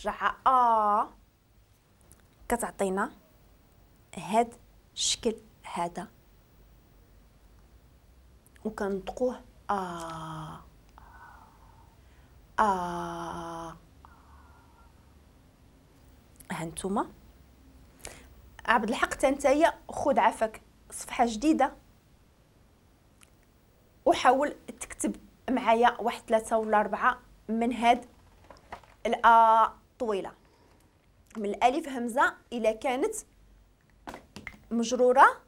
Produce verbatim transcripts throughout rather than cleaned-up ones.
كترجعها آ، كتعطينا هاد الشكل هذا وكنطقوه آ آ. هانتوما عبد الحق تنتايا خذ عفاك صفحة جديدة وحاول تكتب معايا واحد ثلاثة ولا أربعة من هاد الآ طويلة، من الألف همزة إلا كانت مجرورة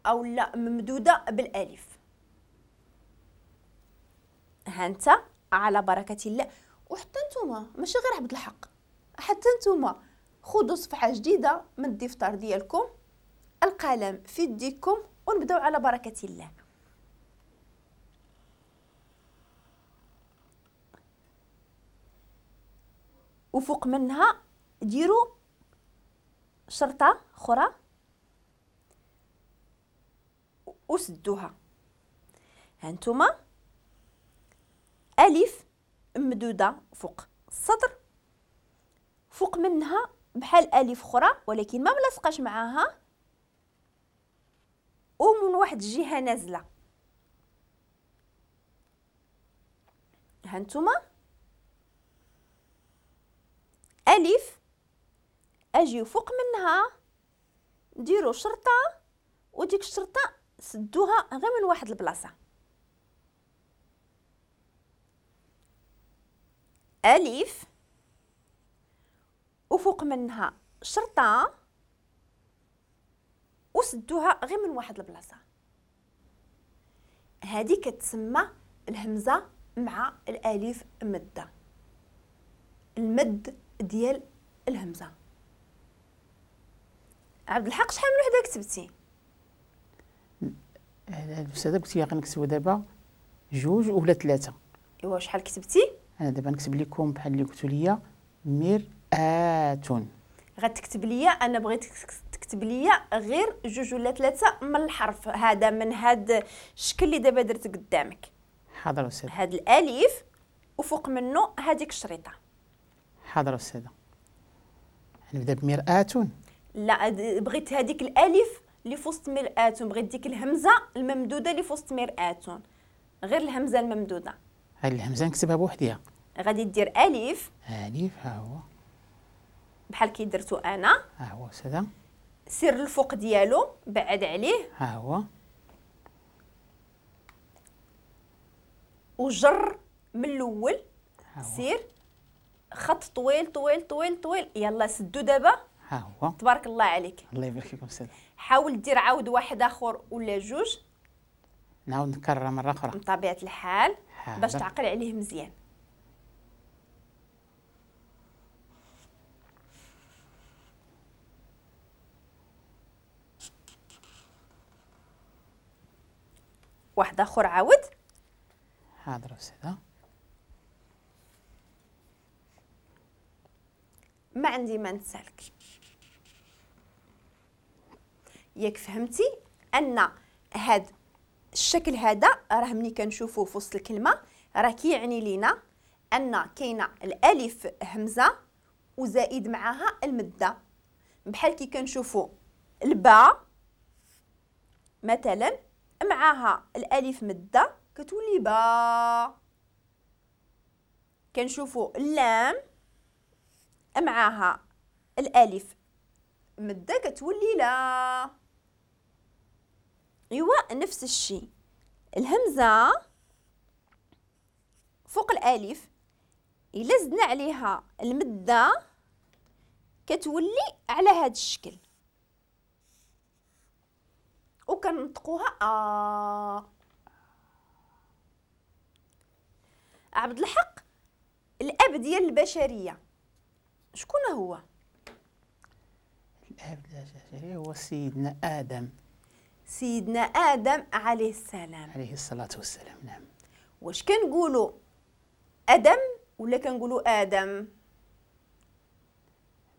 أو لا ممدودة بالألف. ها أنت على بركة الله. وحتى نتوما ماشي غير عبد الحق، حتى نتوما خذوا صفحة جديدة من الدفتر ديالكم، القلم في يديكم، ونبداو على بركة الله. وفوق منها ديروا شرطة أخرى وسدوها. هانتوما ألف ممدودة فوق السطر، فوق منها بحال ألف أخرى ولكن ما ملصقاش معاها، ومن واحد الجهة نازلة. هانتوما ألف، أجيو فوق منها ديروا شرطة، وديك الشرطة سدوها غير من واحد البلاصة. ألف وفوق منها شرطة وسدوها غير من واحد البلاصة. هذه كتسمى الهمزة مع الألف مدة، المد ديال الهمزة. عبد الحق شحال من وحدة كتبتي؟ الأستاذة قلت لي غنكتبو دابا جوج ولا ثلاثة. إيوا شحال كتبتي؟ أنا دابا نكتب لكم بحال اللي قلتوا لي مرآة. غتكتب لي، أنا بغيت تكتب لي غير جوج ولا ثلاثة من الحرف هذا، من هذا الشكل اللي دابا درت قدامك. حاضر أستاذة. هذا الألف وفوق منه هذيك الشريطة. حاضر أستاذة. نبدا بمرآة. لا، بغيت هذيك الألف اللي في وسط مرآة، بغيت ديك الهمزة الممدودة اللي في وسط مرآة، غير الهمزة الممدودة. هاي الهمزة نكتبها بوحديها. غادي دير ألف. ألف ها هو. بحال كي درتو أنا. ها هو أستاذة. سير الفوق ديالو، بعد عليه. ها هو. وجر من الأول. سير خط طويل طويل طويل طويل. يلا سدو دابا. ها هو. تبارك الله عليك. الله يبارك فيكم أستاذة. حاول دير عاود واحد آخر ولا جوج. نعاود نكررها مرة أخرى. بطبيعة الحال باش تعقل عليه مزيان. واحد آخر عاود. حاضر أستاذة. ما عندي ما نسالك. ياك فهمتي أن هاد الشكل هذا راه ملي كنشوفوه في وسط الكلمة راه كيعني لينا أن كاينة الألف همزة وزائد معاها المدة، بحال كي كنشوفو الباء مثلا معاها الألف مدة كتولي با، كنشوفو اللام معاها الألف مدة كتولي لا. ايوا نفس الشيء الهمزة فوق الألف إلا زدنا عليها المدة كتولي على هذا الشكل وكنطقوها آ. عبد الحق الأب ديال البشرية شكون هو؟ الأب ديال البشرية هو سيدنا آدم. سيدنا آدم عليه السلام. عليه الصلاة والسلام. نعم. واش كنقولوا آدم ولا كنقولوا آدم؟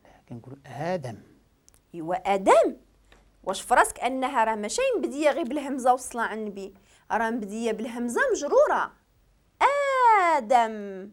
لا كنقولوا آدم. إيوا آدم. واش فراسك أنها راه ماشي مبدية غير بالهمزة والصلاة على النبي، راه مبدية بالهمزة مجرورة آدم.